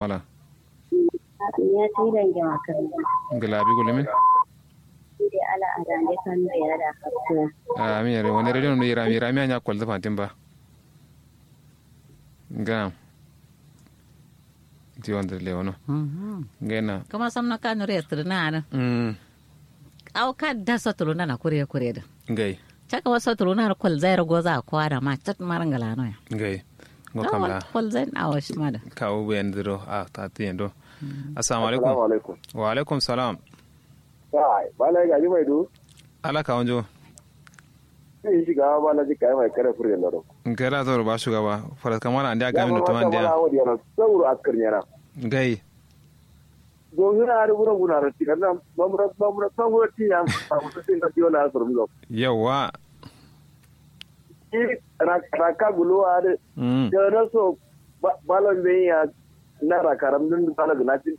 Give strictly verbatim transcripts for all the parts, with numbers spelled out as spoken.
Mala. Ngla abi gullumin. Amin yare wani radio num yirami yirami anya kwalza fantin ba. Ngam. Ti wanda lewono. Ngena. Kuma samno kanuri yastirina adin. Awo ka da sotuluna na kure kure din. Ngai. Caka wa sotuluna da kwalza yar goza a kowa da ma cat mara ngalano ya. Ngai. Ngo kamla. Kwalza yin awo shi ma da. Kawo bayan ziro a tati yando. Assalamu alaikum. Wa alaikum salam. Kai bala ga ji mai du. Ala ka wanjo. Sai shi ga bala ji kai mai kare fure laro. Ngai la zoro ba shugaba faras kamar an dia gamin da tuman dia. Sauro askar nyara. Ngai. Gongina ari wuro guna ro tikanna mamura mamura mamura tiya mamura tinga diyo na surum lo. Yawwa. Ki raka guluwa ari. Dana so balon be ya na raka ram din balo gnatin.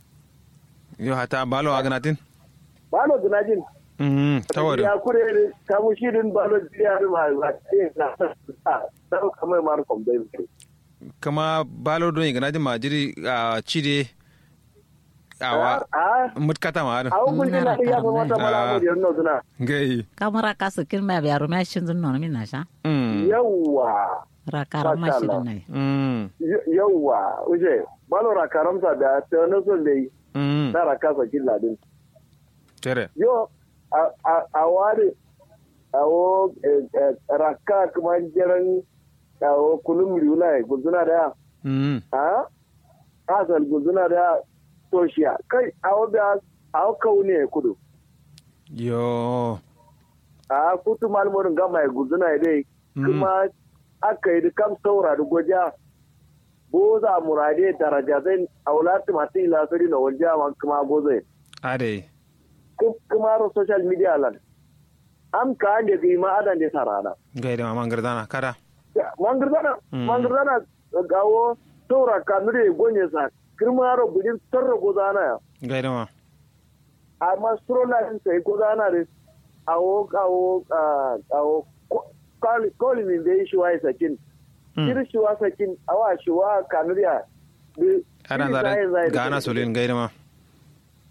Yo hata balo a gnatin. Balo gnatin. Tawari ya kure kamu shi din balo diya ma na. Kamar mar kombe. Kama balo don igana jin ma jiri a cide. Awa. Mutkata ma adin. Awo gulgin na ya fa mata mala mo diyon no suna. Ngai. Kamara kasu kin ma biya rumiya shin zun no min na sha. Yawwa. Rakaram ma shi din nai. Yawwa uje balo rakaram sa da ta no son dai. Na rakasa kin ladin. Tere. Yo. A wari. Awo. Rakka kuma jiran. Awo kulum riwuna ya gulzuna da ya. Ahh. Asal gulzuna da ya. Toshiya kai awo biya. Awo kaune ya kudu. Yo. Ahh kutu malmorin gama ya gulzuna ya dai. Kuma. Aka yi da kam saura da goja. Boza murade daraja zai. Aula tumati ila sari na wanja man kuma gozai. Adai. Kuma ro social media lan. Am ka ande gi ma adan de sarana. Ngai da ma mangardana kada. Mangardana. Mangardana. Gawo saura kanure gonye sa. Kirma ro budin tarro gozana ya. Ngai da ma. Amma suro lahin sai gozana de. Awo awo. Awo. Koli min de shiwa isakin. Kiri shiwa sakin awa shiwa kanuriya. Adan zai gana solin ngai da ma.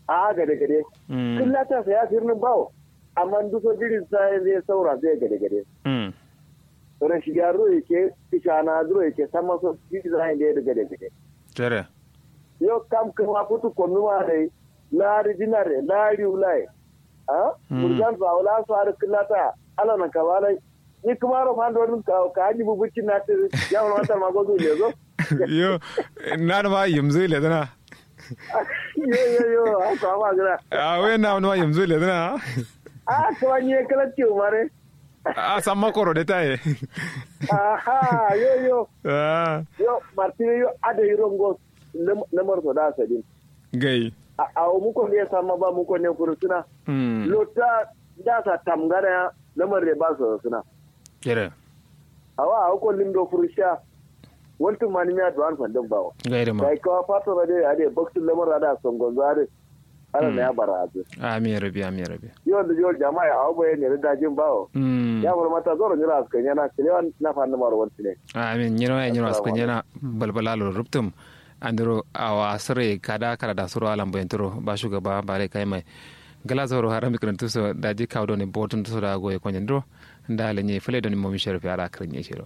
A gade gade. Kullata sai ya firnin bawo. Amma duso jirin sayan zai saura zai gade gade. Rashidiya duro yake. Kishana duro yake sama so jirin sayan zai gade gade. Tere. Yo kam kuma futu konnuma dai. Lari dinare lari ulai. Ahh. Murjan fa wala so har kullata. Ala nan kabalai. Ni kuma ro fando dun ka ka ni bubucin na tiri. Ya wala wata ma gozu lezo. Yo. Na da ma yimzu lezana. Yo yo yo. Haka ma gina. A wai na wani ma yimzu lezana. A to ni kala ciwo mare. A san makoro da taye. Aha yo yo. Yo martini yo. Ada irongo. Namar so da sadin. Gai. Awo muko ne sama ba muko ne furutuna. Lota. Da sa tamgana ya. Namar da ba so suna. Kere. Awa awo ko lindo furusha. Waltu manimiya duwan fandin bawo. Gai da ma. Gai kawa fato na dai ade baktu lamar da songonzo ade. Ana na ya bara azu. Amin rabi amin rabi. Yawan da jiwar jama'a ya awo bayan ne da jin bawo. Ya fara mata zoro nyura askan yana kilewan na fandin maro wanti ne. Amin nyiro ya nyiro askan yana. Balbala lo ruptum. Andiro awa sirri kada kara da suro alam bayan turo ba shugaba ba rai kai mai. Gala zoro haram bikirin tuso da ji kawo doni botun tuso da goye konyen duro. Nda lenye fule doni momi shero fi ara kirin ye shero.